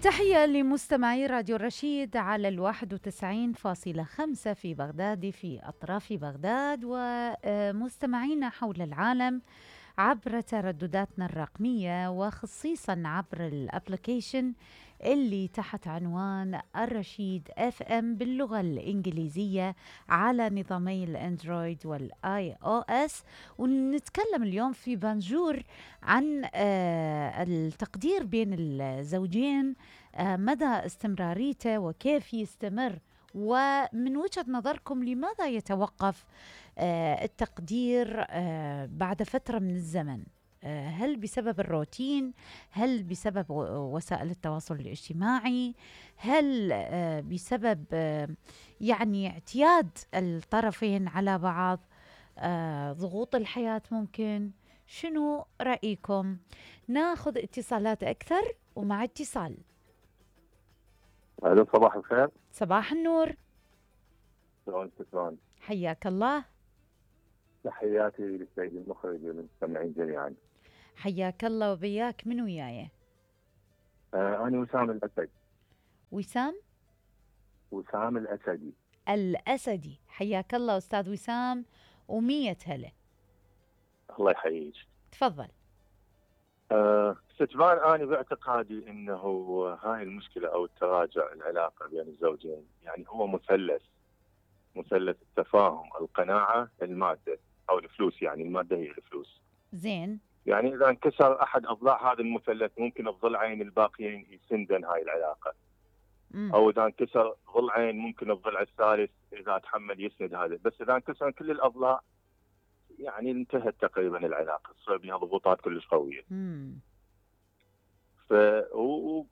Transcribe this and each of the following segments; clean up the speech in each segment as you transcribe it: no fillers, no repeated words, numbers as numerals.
تحية لمستمعي راديو الرشيد على 91.5 في بغداد في أطراف بغداد، ومستمعينا حول العالم عبر تردداتنا الرقمية، وخصيصا عبر الابليكيشن اللي تحت عنوان الرشيد FM باللغة الإنجليزية على نظامي الأندرويد والآي أو إس. ونتكلم اليوم في بانجور عن التقدير بين الزوجين، مدى استمراريته وكيف يستمر، ومن وجهة نظركم لماذا يتوقف التقدير بعد فترة من الزمن؟ هل بسبب الروتين؟ هل بسبب وسائل التواصل الاجتماعي؟ هل بسبب يعني اعتياد الطرفين على بعض؟ ضغوط الحياة ممكن؟ شنو رأيكم؟ ناخذ اتصالات أكثر، ومع اتصال. الو، صباح الخير. صباح النور. شلون؟ حياك الله. تحياتي للسيد المخرج والمستمعين جميعا. حياك الله وبياك. من وياي؟ أنا وسام الأسد. وسام الأسدي. حياك الله أستاذ وسام، ومية هلا. الله يحييك. تفضل. ستبان أنا باعتقادي أنه هاي المشكلة أو التراجع العلاقة بين الزوجين يعني هو مثلث التفاهم، القناعة، المادة أو الفلوس. يعني المادة هي الفلوس. زين. يعني إذا انكسر أحد أضلاع هذا المثلث ممكن الضلعين الباقيين يسندن هاي العلاقة. أو إذا انكسر ضلعين ممكن الضلع الثالث إذا تحمل يسند هذا. بس إذا انكسر كل الأضلاع يعني انتهت تقريبا العلاقة، تصير بها ضغوطات كلش قوية.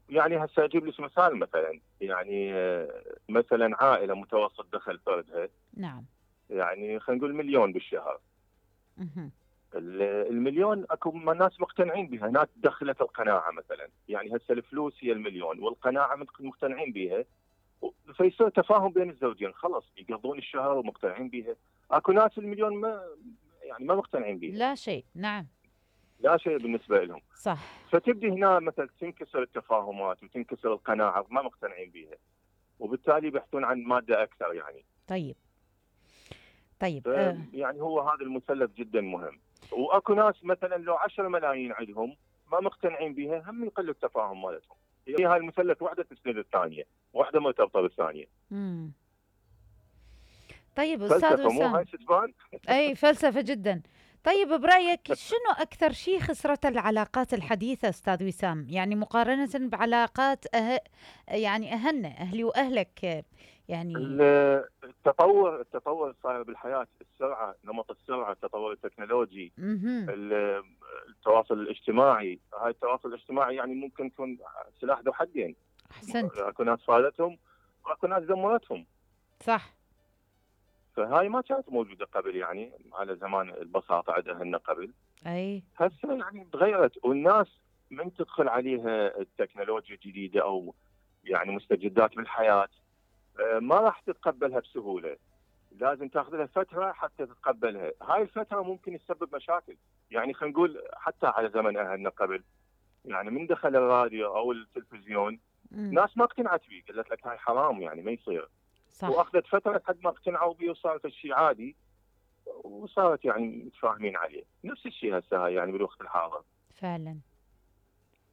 يعني هسه أجيب لك مثال. مثلا يعني مثلا عائلة متوسط دخل فردها، نعم، يعني خلينا نقول مليون بالشهر. المليون اكو ناس مقتنعين بها، ناس دخلت القناعه مثلا. يعني هسه الفلوس هي المليون والقناعه مقتنعين بها، فيصير تفاهم بين الزوجين، خلص يقضون الشهر ومقتنعين بها. اكو ناس المليون ما مقتنعين بها، لا شيء. نعم، لا شيء بالنسبه لهم. صح. فتبدي هنا مثلا تنكسر التفاهمات وتنكسر القناعه، ما مقتنعين بها، وبالتالي بيحثون عن ماده اكثر. يعني طيب يعني هو هذا المثلث جدا مهم. واكو ناس مثلا لو 10 ملايين عندهم ما مقتنعين بها، هم يقل التفاهم مالتهم. هي هاي المثلث واحده تسند الثانيه، واحده مرتبطه بالثانيه. طيب استاذ وسام، مو هاي ستبان؟ اي فلسفه جدا. طيب برايك شنو اكثر شيء خسرته العلاقات الحديثه استاذ وسام، يعني مقارنه بعلاقات يعني اهلي واهلك؟ يعني التطور صاير بالحياه، السرعه، نمط السرعه، التطور التكنولوجي، التواصل الاجتماعي. هاي التواصل الاجتماعي يعني ممكن يكون سلاح ذو حدين. احسنت. اكو ناس فادتهم واكو ناس دمرتهم. صح. فهاي ما كانت موجوده قبل، يعني على زمان البساطه عندنا قبل. اي هسه يعني تغيرت، والناس من تدخل عليها التكنولوجيا الجديده او يعني مستجدات بالحياه ما راح تتقبلها بسهوله. لازم تاخذ لها فتره حتى تتقبلها. هاي الفتره ممكن تسبب مشاكل. يعني خلينا نقول حتى على زمن اهلنا قبل، يعني من دخل الراديو او التلفزيون ناس ما اقتنعت فيه، قالت لك هاي حرام، يعني ما يصير. صح. واخذت فتره لحد ما اقتنعوا به وصارت الشيء عادي، وصارت يعني متفاهمين عليه. نفس الشيء هسه يعني بالوقت الحاضر.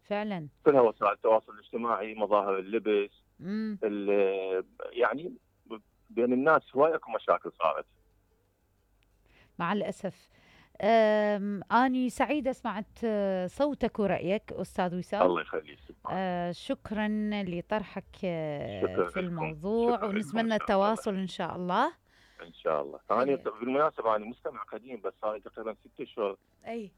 فعلا كلها وسائل التواصل الاجتماعي، مظاهر اللبس، يعني بين الناس هواي اكو مشاكل صارت مع الاسف. اني سعيده سمعت صوتك ورأيك أستاذ وسام. الله يخليك. شكرا لطرحك في الموضوع، شكرا ونتمنى التواصل إن شاء الله. إن شاء الله. أنا بالمناسبة أنا مستمع قديم، بس صار تقريبا 6 أشهر. أي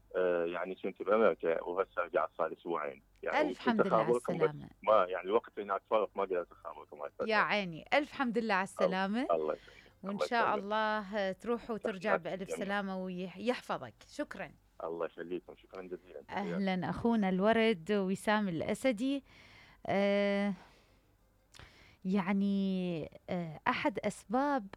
يعني كنت بأمريكا وهسه رجعت صار أسبوعين. يعني ألف حمد لله على السلامة. ما يعني الوقت هناك فرق، ما قدرت أخابركم. يا عيني، ألف حمد لله على السلامة. الله يسلمك. وإن شاء الله تروح وترجع بألف سلامة ويحفظك. شكرا. الله يخليكم، شكرا جزيلا. أهلا أخونا الورد وسام الأسدي. يعني أحد أسباب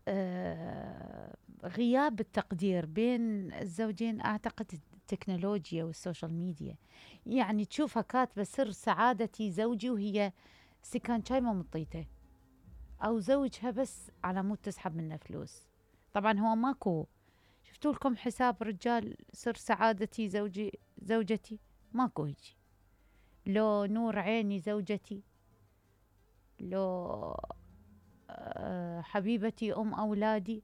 غياب التقدير بين الزوجين أعتقد التكنولوجيا والسوشيال ميديا. يعني تشوفها كاتبة سر سعادتي زوجي وهي استكان شاي ما مطيته، او زوجها بس على مود تسحب منه فلوس. طبعا هو ماكو. شفتوا لكم حساب رجال سر سعادتي زوجتي؟ ماكو هيجي. لو نور عيني زوجتي، لو حبيبتي ام اولادي.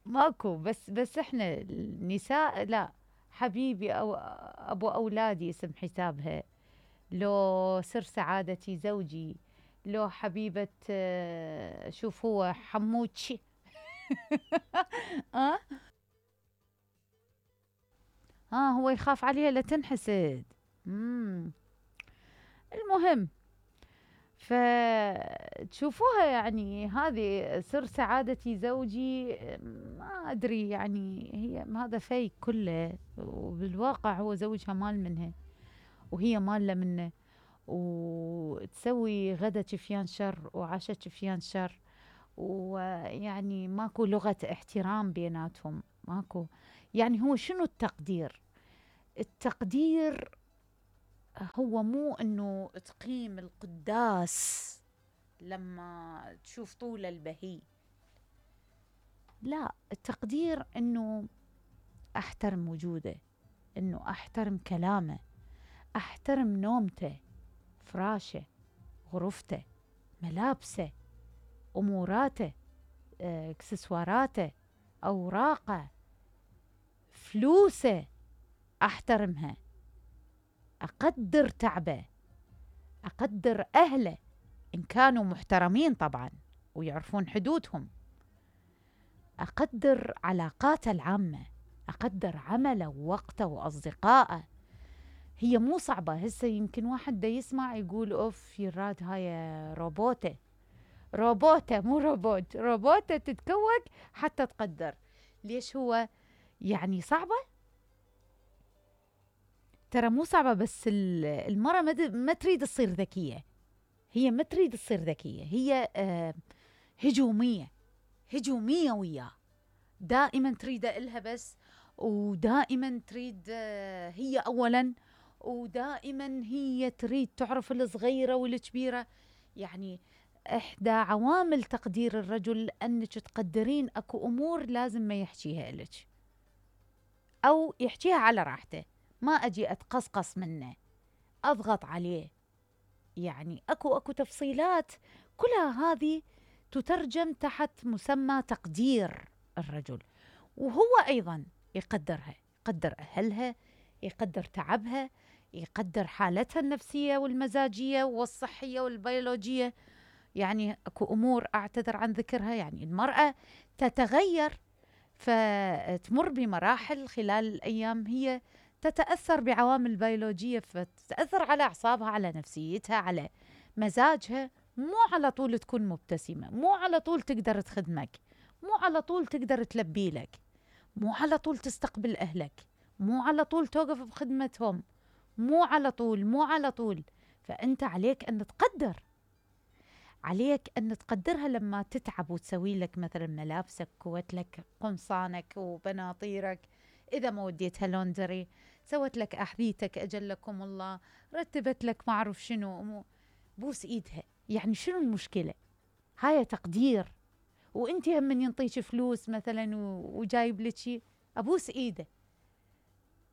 ماكو. بس احنا النساء لا، حبيبي او ابو اولادي اسم حسابها، لو سر سعادتي زوجي، لو حبيبة شوف هو حموتشي. ها هو يخاف عليها لا تنحسد. المهم، فتشوفوها يعني هذه سر سعادتي زوجي، ما أدري يعني هي هذا فيك كله، وبالواقع هو زوجها مال منها وهي مالة منه، وتسوي غدا شفيان شر وعشاء شفيان شر، ويعني ماكو لغة احترام بيناتهم، ماكو. يعني هو شنو التقدير؟ التقدير هو مو انه تقيم القداس لما تشوف طول البهي، لا، التقدير انه احترم وجوده، انه احترم كلامه، احترم نومته، فراشه، غرفته، ملابسه، اموراته، اكسسواراته، اوراقه، فلوسه، احترمها، اقدر تعبه، اقدر اهله ان كانوا محترمين طبعا ويعرفون حدودهم، اقدر علاقاته العامه، اقدر عمله ووقته واصدقائه. هي مو صعبه. هسه يمكن واحد دا يسمع يقول اوف يراد هاي روبوته مو روبوت، روبوته تتكوك حتى تقدر. ليش هو يعني صعبه؟ ترى مو صعبه، بس المرأة ما تريد تصير ذكيه. هي ما تريد تصير ذكيه، هي هجوميه وياه، دائما تريده إلها بس، ودائما تريد هي اولا، ودائما هي تريد تعرف الصغيره والكبيره. يعني احدى عوامل تقدير الرجل انك تقدرين اكو امور لازم ما يحكيها لك، او يحكيها على راحته، ما اجي اتقصقص منه، اضغط عليه. يعني اكو تفصيلات كلها هذه تترجم تحت مسمى تقدير الرجل. وهو ايضا يقدرها، يقدر اهلها، يقدر تعبها، يقدر حالتها النفسيه والمزاجيه والصحيه والبيولوجيه. يعني اكو امور اعتذر عن ذكرها، يعني المراه تتغير، فتمر بمراحل خلال الايام، هي تتاثر بعوامل بيولوجيه، فتتاثر على اعصابها، على نفسيتها، على مزاجها. مو على طول تكون مبتسمه، مو على طول تقدر تخدمك، مو على طول تقدر تلبي لك، مو على طول تستقبل اهلك، مو على طول توقف بخدمتهم، مو على طول. فانت عليك ان تقدر، عليك أن تقدرها لما تتعب وتسوي لك مثلا ملابسك، كوت لك قمصانك وبناطيرك، إذا ما وديتها لوندري، سوت لك أحذيتك أجلكم الله، رتبت لك ما أعرف شنو، بوس إيدها. يعني شنو المشكلة؟ هاي تقدير. وانت هم من ينطيك فلوس مثلا وجايب لك شيء، أبوس إيده.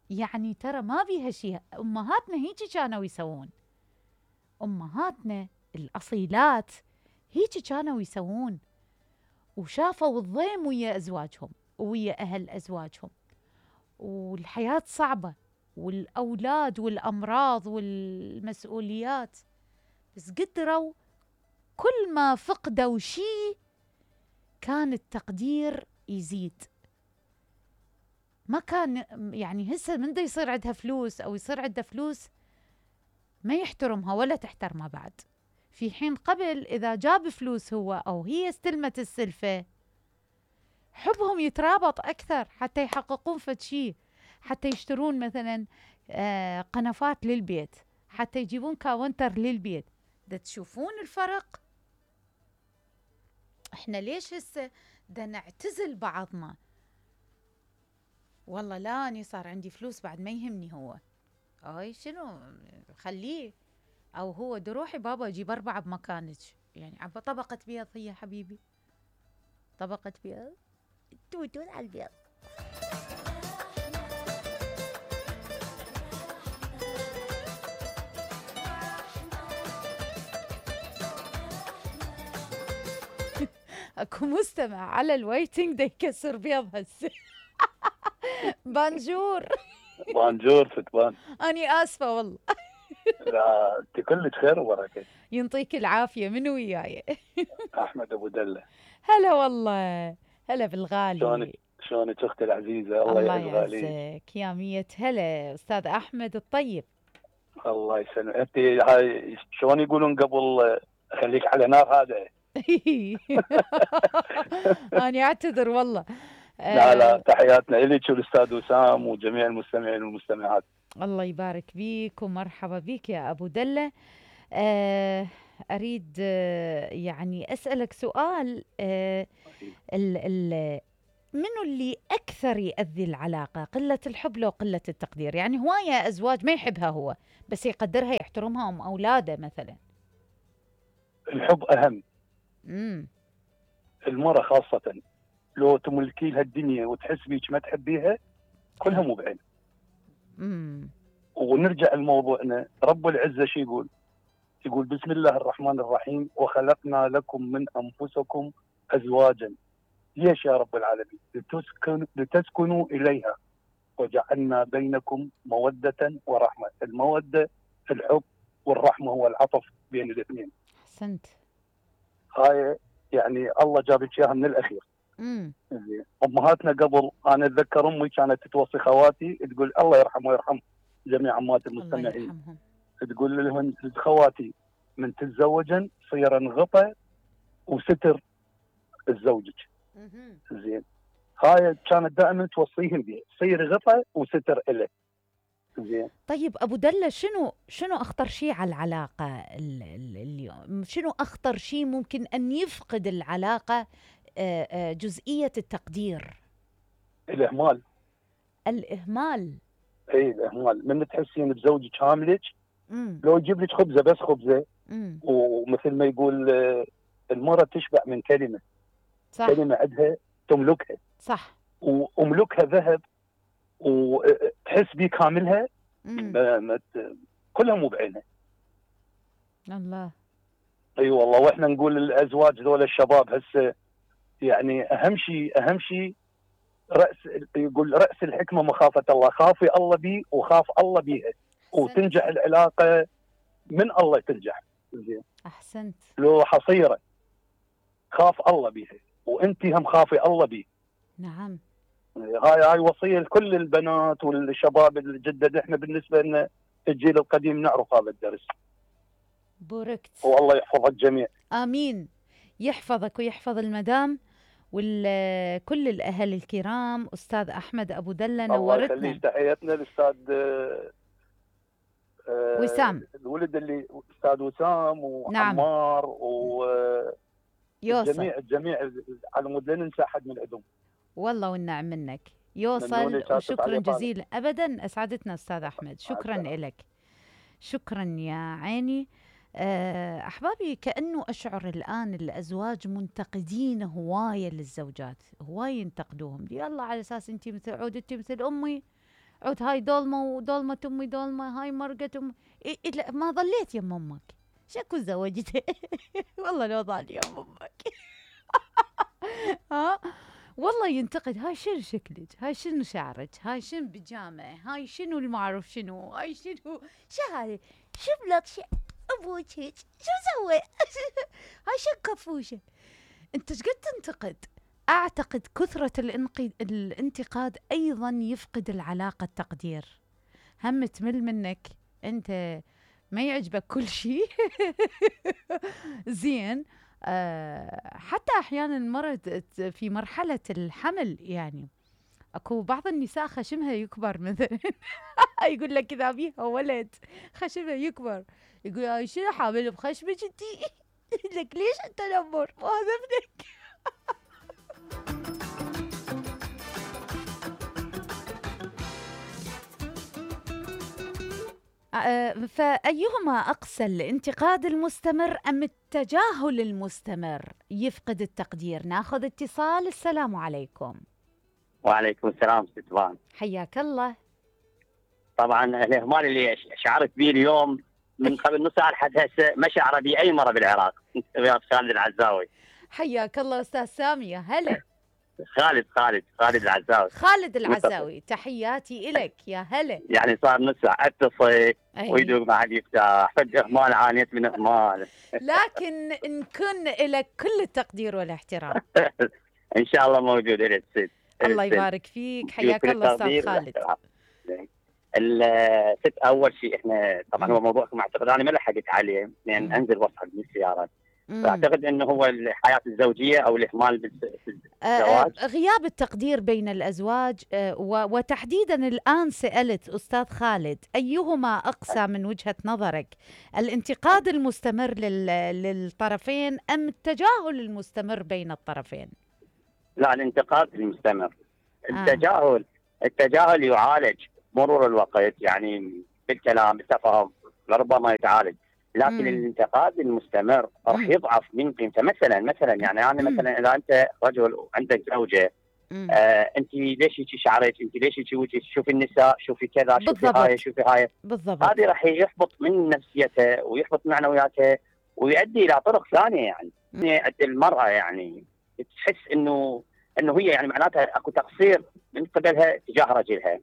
يعني ترى ما بيها شيء. أمهاتنا هيك كانوا يسوون، أمهاتنا الأصيلات هيك كانوا يسوون، وشافوا الضيم ويا أزواجهم ويا أهل أزواجهم، والحياة صعبة، والأولاد والأمراض والمسؤوليات، بس قدروا كل ما فقدوا شيء كان التقدير يزيد. ما كان يعني هسه من دا يصير عندها فلوس أو يصير عندها فلوس ما يحترمها ولا تحترمها بعد، في حين قبل إذا جاب فلوس هو أو هي استلمت السلفة، حبهم يترابط أكثر حتى يحققون فد شيء، حتى يشترون مثلا قنفات للبيت، حتى يجيبون كاونتر للبيت. دا تشوفون الفرق؟ احنا ليش هسه دا نعتزل بعضنا؟ والله لا، أني صار عندي فلوس بعد ما يهمني هو، هاي شنو خليه، او هو روحي بابا اجيب 4 بمكانك، يعني عبا طبقة بيض هي حبيبي، طبقة بيض، توتون على البيض. اكو مستمع على الويتنج دا يكسر بيض هسه. بانجور. بانجور فتبان. اني اسفه والله. لا انت كلك خير وبركه. ينطيك العافيه، من وياي؟ احمد ابو دله. هلا والله، هلا بالغالي. شلونك اختي العزيزه؟ الله يعزك يا مية هلا استاذ احمد الطيب. الله يسلمك. انت هاي شلون يقولون قبل خليك على نار هذا. أنا أعتذر والله. لا تحياتنا إليك والأستاذ وسام وجميع المستمعين والمستمعات. الله يبارك بيك ومرحبا بك يا أبو دلة. أريد يعني أسألك سؤال. منو اللي أكثر يأذي العلاقة؟ قلة الحب لو قلة التقدير؟ يعني هواية أزواج ما يحبها هو بس يقدرها يحترمها أم أولاده مثلا. الحب أهم. المرأة خاصة لو تملكي لها الدنيا وتحس بيك ما تحبيها كلها مو بعين. ونرجع لموضوعنا. رب العزة شو يقول؟ يقول بسم الله الرحمن الرحيم وخلقنا لكم من أنفسكم أزواجا. ليش يا رب العالمين؟ لتسكنوا إليها وجعلنا بينكم مودة ورحمة. المودة الحب والرحمة هو العطف بين الاثنين. أحسنت. هاي يعني الله جابك اياها من الاخير. امهاتنا قبل انا اتذكر امي كانت توصي خواتي تقول الله يرحمه ويرحم جميع امهات المستمعين. تقول لهم خواتي من تتزوجن صيرن غطى وستر الزوجك. زين. هاي كانت دائما توصيهم بها، صير غطى وستر له. زين. طيب ابو دله شنو اخطر شيء على العلاقه اليوم؟ شنو اخطر شيء ممكن ان يفقد العلاقه جزئيه التقدير؟ الاهمال. اي الاهمال. من تحسين بزوجك هاملك لو يجيب لك خبزه بس خبزه. ومثل ما يقول المراه تشبع من كلمه. صح. كلمه عندها تملكها. صح. واملكها ذهب وتحس بيه كاملها. كلها مو بعينها. الله. اي والله. واحنا نقول الازواج ذول الشباب هسه يعني اهم شيء يقول راس الحكمه مخافه الله. خافي الله بي وخاف الله بيها وتنجح العلاقه من الله تنجح. زين. احسنت. لو حصيره خاف الله بيها وانت هم خافي الله بيه. نعم. هاي وصيه لكل البنات والشباب الجدد. احنا بالنسبه لنا الجيل القديم نعرف هذا الدرس. بوركت. والله يحفظ الجميع. امين. يحفظك ويحفظ المدام وكل الاهل الكرام. استاذ احمد ابو دله نورتنا. الله يخليك. تحياتنا للاستاذ وسام. الولد اللي استاذ وسام وعمار. نعم. يوصل الجميع على مود لا ننسى احد من عندهم. والله والنعم منك. يوصل وشكرا جزيلا. ابدا اسعدتنا استاذ احمد. شكرا لك. شكرا يا عيني. احبابي كانه اشعر الان الازواج منتقدين هوايه للزوجات، هوايه ينتقدوهم. يلا على اساس انت مثل عود، انت مثل امي، عود هاي ضلمه وضلمه امي ضلمه، هاي مرقت امي. لا ما ظليت يم امك شكو زوجتها. والله لو ظل يم امك. ها والله ينتقد. هاي شنو شكلك، هاي شنو شعرك، هاي شنو بيجامه، هاي شنو المعروف شنو، هاي شنو شهاي شبلك ابوك هيك شو سوى. هاي شو كفوشه. انت ايش قد تنتقد؟ اعتقد كثره الانتقاد ايضا يفقد العلاقه التقدير. هم تمل منك انت، ما يعجبك كل شيء. زين. حتى احيانا المرأة في مرحله الحمل يعني اكو بعض النساء خشمها يكبر مثلا. يقول لك اذا بيها ولد خشمها يكبر، يقول هاي شنو حامل بخشمك انتي؟ لك ليش التنمر؟ وهذا ابنك. فأيهما أقسى، الانتقاد المستمر أم التجاهل المستمر يفقد التقدير؟ ناخذ اتصال. السلام عليكم. وعليكم السلام ست فان. حياك الله. طبعا الإهمال اللي شعرت به اليوم من قبل نص ساعة لحد هسه ما شعر به أي مرة بالعراق. ويا خالد العزاوي. حياك الله أستاذ سامي. هلا. خالد العزاوي. خالد العزاوي، تحياتي إلك. يا هلا. يعني صار نص ساعة اتصل ويدوق ما حد يفتح، فد إهمال، عانيت من إهمال. لكن نكون لك كل التقدير والاحترام. إن شاء الله موجود إلى الست. الله يبارك فيك. حياك الله أستاذ خالد. الست اول شيء احنا طبعا هو موضوعكم اعتقد انا ما لحقت عليه لان انزل واصعد من السياره. فاعتقد انه هو الحياه الزوجيه او الاهمال بالزواج، غياب التقدير بين الازواج. وتحديدا الان سالت استاذ خالد ايهما اقسى من وجهه نظرك، الانتقاد المستمر للطرفين ام التجاهل المستمر بين الطرفين؟ لا، الانتقاد المستمر. التجاهل يعالج مرور الوقت، يعني بالكلام بالتفاهم لربما يتعالج، لكن الانتقاد المستمر راح يضعف من قيمته. مثلا يعني انا مثلا اذا انت رجل وعندك زوجه، انت ليش هيك شعرك، انت ليش هيك وجهك، شوفي النساء، شوفي كذا، شوفي هاي بالضبط. هذه راح يحبط من نفسيتها ويحبط معنوياتها ويؤدي الى طرق ثانيه. يعني المراه يعني تحس انه هي يعني معناتها اكو تقصير من قبلها تجاه رجلها.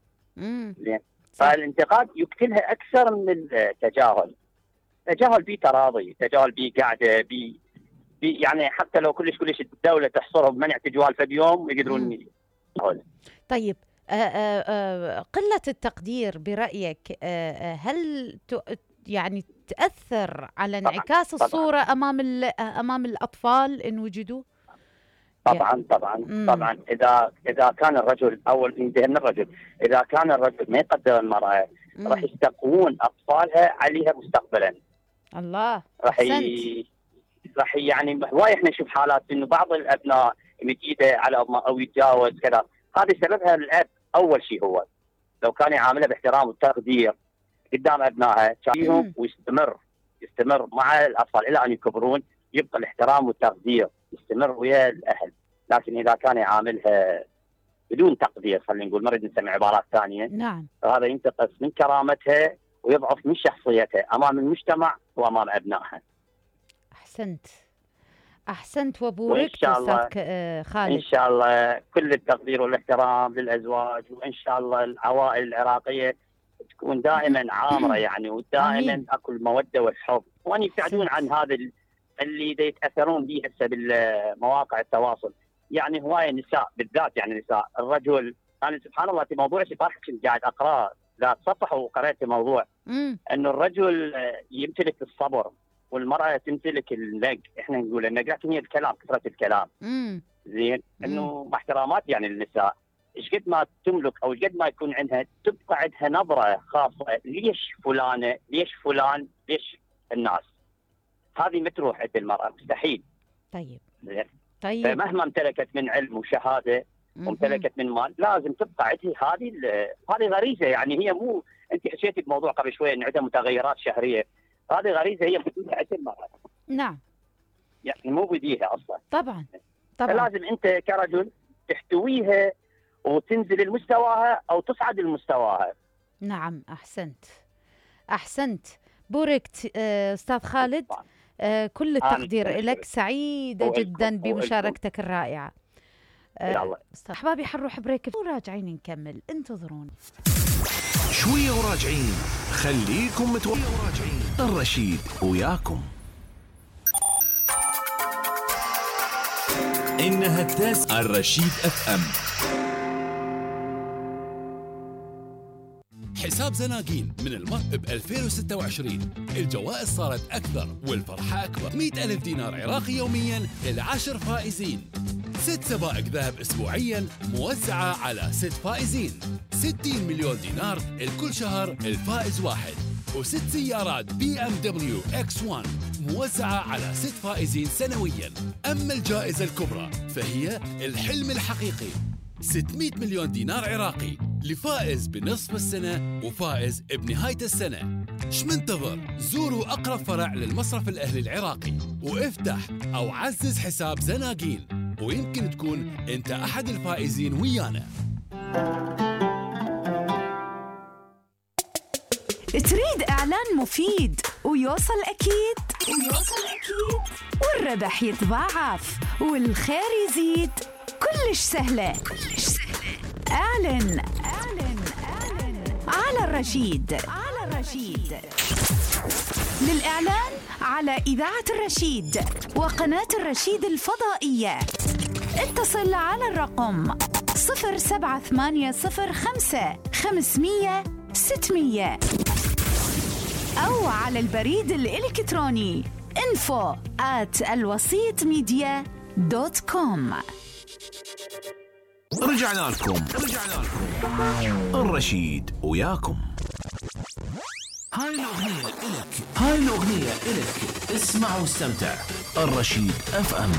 فالانتقاد يقتلها اكثر من التجاهل. تجاهل بيه تراضي، تجاهل بيه قاعده بيه يعني حتى لو كلش الدوله تحصرهم بمنع تجوال في اليوم يقدرون يتجاهلون. طيب قله التقدير برايك هل يعني تاثر على انعكاس الصوره امام الاطفال ان وجدوا؟ طبعا اذا كان الرجل اول ينتهي من الرجل، اذا كان الرجل ما يقدر المراه راح يستقوون اطفالها عليها مستقبلا. الله. راح يعني هواي احنا نشوف حالات انه بعض الابناء يمد ايده على امه او يتجاوز كذا، هذا سببها الاب اول شيء. هو لو كان يعاملها باحترام وتقدير قدام ابنائها فيهم يستمر مع الاطفال الى ان يكبرون، يبقى الاحترام والتقدير يستمر ويا الاهل. لكن اذا كان يعاملها بدون تقدير، خلينا نقول، ما نريد نسمع عبارات ثانيه، نعم، هذا ينتقص من كرامتها ويضعف من شخصيتها امام المجتمع وامام ابنائها. احسنت وبوركت استاذ خالد. ان شاء الله كل التقدير والاحترام للازواج، وان شاء الله العوائل العراقيه تكون دائما عامره يعني، ودائما اكو الموده والحب، وان يبتعدون عن هذا اللي يتاثرون به هسه بالمواقع التواصل. يعني هوايه نساء بالذات، يعني نساء الرجل، انا سبحان الله في موضوع الصباح كنت قاعد اقرا ذات صفحه وقرأت موضوع انه الرجل يمتلك الصبر والمراه تمتلك اللق. احنا نقول النق لكن هي الكلام، كثره الكلام. زين، انه مع احترامات يعني النساء ايش قد ما تملك او ايش قد ما يكون عندها تبقى عندها نظره خاصه، ليش فلانه، ليش فلان، ليش الناس. هذه ما تروح عند المراه مستحيل. طيب. فمهما امتلكت من علم وشهاده وامتلكت من مال لازم تبقى عندها هذه غريزه. يعني هي مو انت حكيتي بموضوع قبل شويه ان عندها متغيرات شهريه، هذه غريزه هي موجوده عند المراه. نعم، يعني مو بديها اصلا. طبعا فلازم انت كرجل تحتويها وتنزل لمستواها او تصعد لمستواها. نعم، احسنت بوركت استاذ خالد. كل التقدير لك، سعيده جدا بمشاركتك الرائعه. احبابي حنروح بريك وراجعين نكمل، انتظرونا شويه وراجعين. خليكم وراجعين. الرشيد وياكم. إنها التاسعة. الرشيد FM. حساب زناقين من الماء ب 2026. الجوائز صارت أكثر والفرحة أكبر. 100,000 دينار عراقي يوميا ل10 فائزين. 6 سبائك ذهب أسبوعيا موزعة على 6 فائزين. 60 مليون دينار الكل شهر الفائز واحد. و6 سيارات BMW X1 موزعة على 6 فائزين سنويا. أما الجائزة الكبرى فهي الحلم الحقيقي، 600 مليون دينار عراقي لفائز بنصف السنة وفائز بنهاية السنة. ايش منتظر؟ زوروا أقرب فرع للمصرف الأهلي العراقي وافتح أو عزز حساب زناقين، ويمكن تكون أنت أحد الفائزين ويانا. تريد إعلان مفيد ويوصل أكيد والربح يتضاعف والخير يزيد؟ كلش سهلة. اعلن على الرشيد. للإعلان على إذاعة الرشيد وقناة الرشيد الفضائية اتصل على الرقم 07805 500 600 أو على البريد الإلكتروني info@alwasitmedia.com. رجعنا لكم الرشيد وياكم. هاي الأغنية إلك اسمع واستمتع. الرشيد FM.